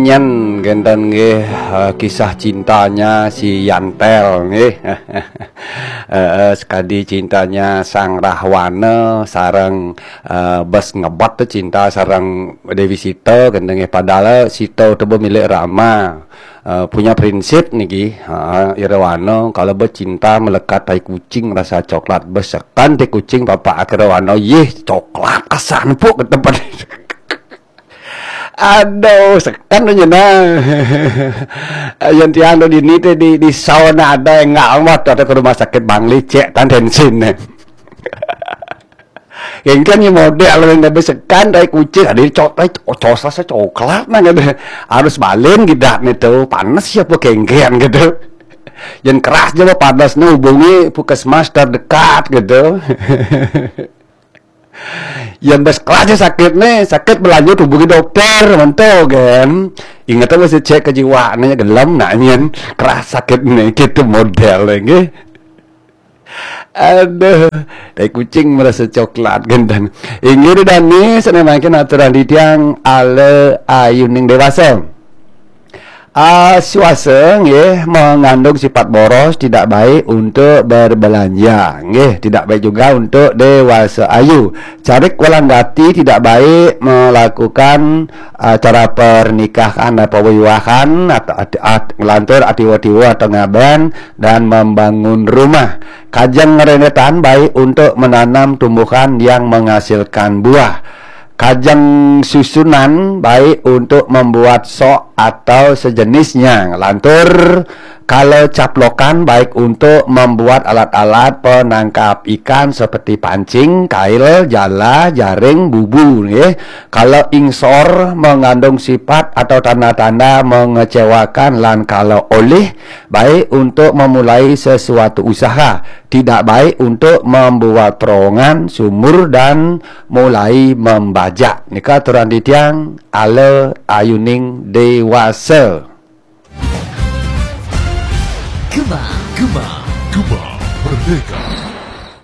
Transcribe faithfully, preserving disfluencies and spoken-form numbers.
Nyen genten nggih, eh, kisah cintanya si Yantel nggih. Eh, eh, sekadi cintanya Sang Rahwana sareng, eh, bes ngebet tu cinta sareng Dewi Sita genten nggih. Padahal Sita tu be milik Rama. Eh, punya prinsip niki, ha, Irawana kalau becinta melekat tai kucing rasa coklat. Besekan tai kucing papa Irawana, yeh coklat asan puk ke tempat. Aduh, sekan tu nyena. Yang tiang tu dini tu di, di sauna ada yang enggak amat tu ke rumah sakit Bangli cek tan tensin. Kengken ni model yang dah besekan tai kucing ada cok tai cos rasa coklat nah gitu. Harus balin gitu nih tu panas siapa kengken gitu. Yang keras je panas nih hubungi puskesmas terdekat gitu. Yang bes keras je sakit nih, sakit berlanjut hubungi dokter, mentu kan. Ingat apa sih cek ke jiwa nih gelem nak nyen keras sakit nih gitu model lagi. Aduh, tai kucing merasa coklat genten. Inggih dani sane mangkin aturan titiang ala ayuning dewasa. Ah, suasa nggih mengandung sifat boros, tidak baik untuk berbelanja, nggih tidak baik juga untuk dewasa ayu. Carik walanggati tidak baik melakukan acara pernikahan atau wiwahan atau at, at, ngelantur atiwa-tiwa atau ngaben dan membangun rumah. Kajeng rendetan baik untuk menanam tumbuhan yang menghasilkan buah. Kajeng susunan baik untuk membuat sok atau sejenisnya. Ngelantur kalau caplokan baik untuk membuat alat-alat penangkap ikan seperti pancing, kail, jala, jaring, bubu nggih. Kalau ingsor mengandung sifat atau tanda-tanda mengecewakan lan kalau olih baik untuk memulai sesuatu usaha, tidak baik untuk membuat terowongan, sumur dan mulai membajak. Nika aturan titiang ala ayuning dewasa. Gema, gema, gema merdeka.